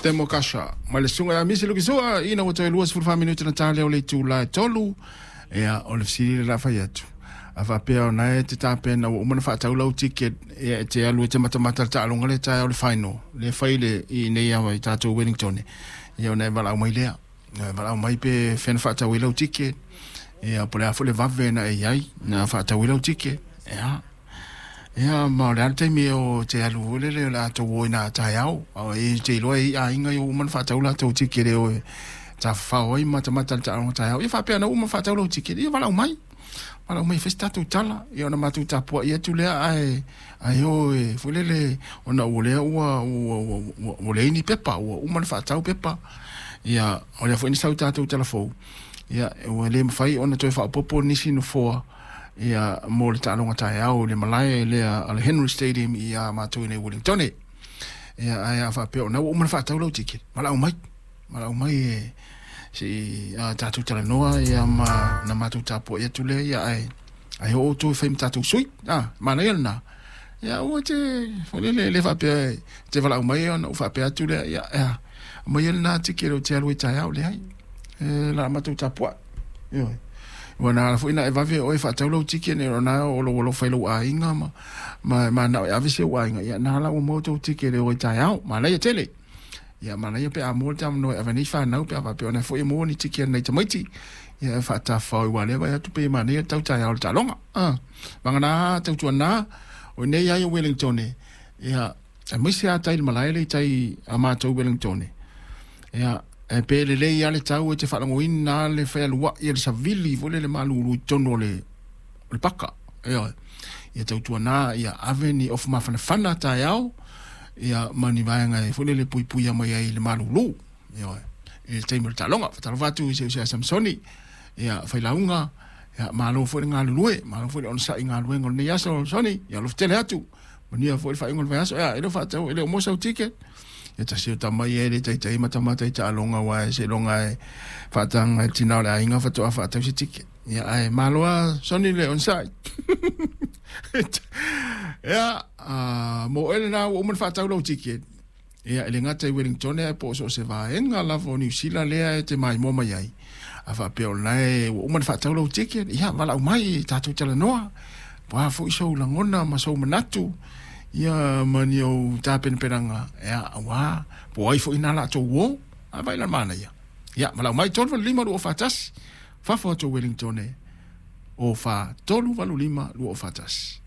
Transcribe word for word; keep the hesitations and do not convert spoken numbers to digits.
Temo Kasha ma le susuga ia Misi Lukisua ina ua toe lua sefulu fa minute na ta lea o le itula e tolu. Ia o le fesili le la fai atu a faapea ona e te tapena ua uma ona faatau lau ticket ia e te alu e te matamata le taaloga le taeao le final le fai le i nei awa i tatou Wellington ia ona e valaau mai lea e valaau mai pe fea na faatau ai lau ticket ia po o le a foi le vave na e i ai na faatau ai lau ticket ia ia ma o le a le taimi o te alu foi lele o le a tou o ina taeao e te iloa e i aiga ua uma ona faatau latou ticket e o e tafafao ai matamata le taaloga taeao ia faapea na uma faatau lau ticket ia valaau mai valaau mai e fai se tatou tala ia ona matou tapuai atu lea ae ae o e foi lele ona ua lea ua ua ua ua leai ni pepa ua uma ona faatau pepa ia o lea foi na sau tatou tala fou ia ua le mafai ona toe faaopoopo nisi nofoa ia mo le taaloga taeao i le malae lea a le Henry Stadium ia matou i nei Wellington ia ae a faapea ona ua uma ona faatau lau ticket valaau mai valaau mai e se i tatou talanoa ia ma na matou tapuai atu lea ia ae ae oo outou e fai ma tatou sui a manaia lena ia aua te foi lele le faapea te valaau mai ona ou faapea atu lea ia ia aumai lena ticket o te alu ai taeao leai e la matou tapuai ioe ua na ala foi na e vave oe faatau lau ticket nei ona o lou alofa i lou aiga ma ma manao e ave si ou aiga ia na ala ua maua tou ticket e o ai taeao manaia tele ia manaia pe a maua le avanoa e ave nei fanau pe a faapea ona foi e maua ni ticket nai tamaiti ia e faatafafao i ua lea vaai atu pe manaia le tau taeao le taaloga ah vagana tautuana o nei ai o Wellington ia aemaise a tai le malae le i tai a matou Wellington ia e pe lelei a le tau e te faalagoina le fealuai e le savili foi lele malulu i totonu o le o le paka ioe ia tautuana ia ave ni ofu mafanafana taeao ia ma ni vaega e foi lele puipuia mai ai i le malulu ioe i le taimi o le taaloga. Faatalofa atu i si uso ia Samsoni ia failauga ia malo foi le galulue malo foi le onosai i galuega o lenei aso Soni ia alofa tele atu manuia foi le faaiuga o le vaiaso ia e le o faatau e le o maua sau ticket ia tasi o tama ia e le taitai matamata i taaloga aua seiloga e faataga i le tina o le aiga faatoa faatau se ticket ia ae malo lava Soni le onosai ia mo oe lena ua uma ona faatau lau ticket ia e le gata i Wellington ae po o so o se vaega lava o Niu Sila lea e te maimoa mai ai a faapea o lena e ua uma ona faatau lau ticket ia valaau mai tatou talanoa po o a foi sou lagona ma sou manatu ia ma ni ou tapenapenaga ia aua po o ai foi na latou uo a vaai la le manaia ia valaau mai tolu valu lima lua fa tasi fafo atu o Wellington o fa tolu valu lima lua fa tasi.